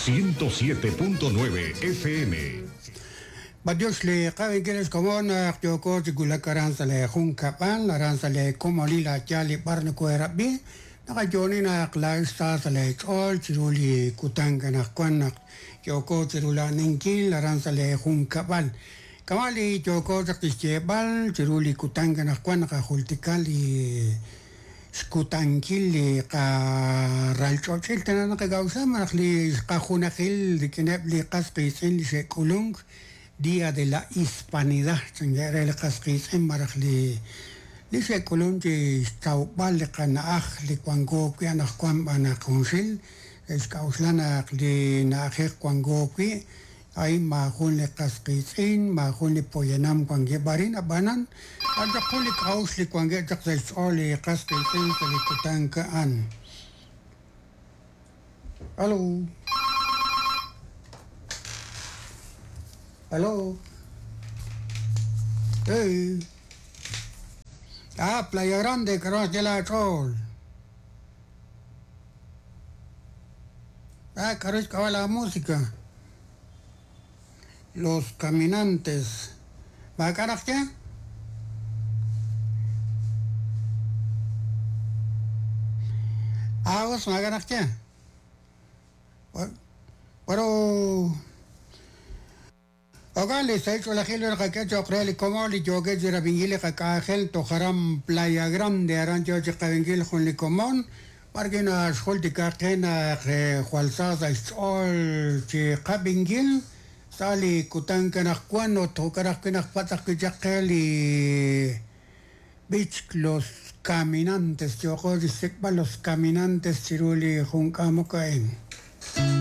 107.9 FM. B'antiox li qab'inkil ex komon naq yooko chi wulak aran sa' lee junkab'al, aran sa' lee komonil a' yaal li b'ar nokoheerab'i, naqayo'oni naq laa'ex sa sa' lee ch'ool chiru li kutan anaqwan naq yooko chirula'aninkil aran sa' lee junkab'al. Kama' li yooko chaq chixyeeb'al chiru li kutan anaqwan naqajultika li xkutankil li qaralch'och'il tana naqak'a'uxla malaj li xqajunajil rik'ineb' li qas qiitz'in li xe'k'ulunk Día de la Hispanidad chankeb' re li qas qiitz'in malaj li li xe'k'ulunk chi xtawb'al li qana'aj li wanko wi' anaqwan b'an naq junxil xe'xk'a'uxla naq li na'ajej wanko wi' a'in maajun li qas qiitz'in, maajun li poyanam wankeb' arin, ab'anan a'an chaq jun li k'a'uxl li wankeb' chaq sa' xch'ool li qas qiitz'in sa' li kutan a'an. Alo. Alo. Hey. Ah, Playa Grande, k'aru naxye laach'ool? Ah, k'aru xk'ab'a' la música? Los Caminantes. Maak'a' naq ye? Ah, us maak'a' naq ye. Pero Jo'kan li sahil ch'oolejil li naqak'e cho'q re li komon li yookeb' chi rab'inkil li qak'anjel toj aran Playa Grande, aran yo chi qab'inkil jun li komon b'ar wi' naxjultika qe naq jwal sa sa' xch'ool chi qab'inkil sa' li kutan anaqwan ut jo'kan ajwi' naqpatz' ajwi' chaq qe li b'ich Los Caminantes, yooqo chi xsik'b'al Los Caminantes chiru li jun k'amok a'in.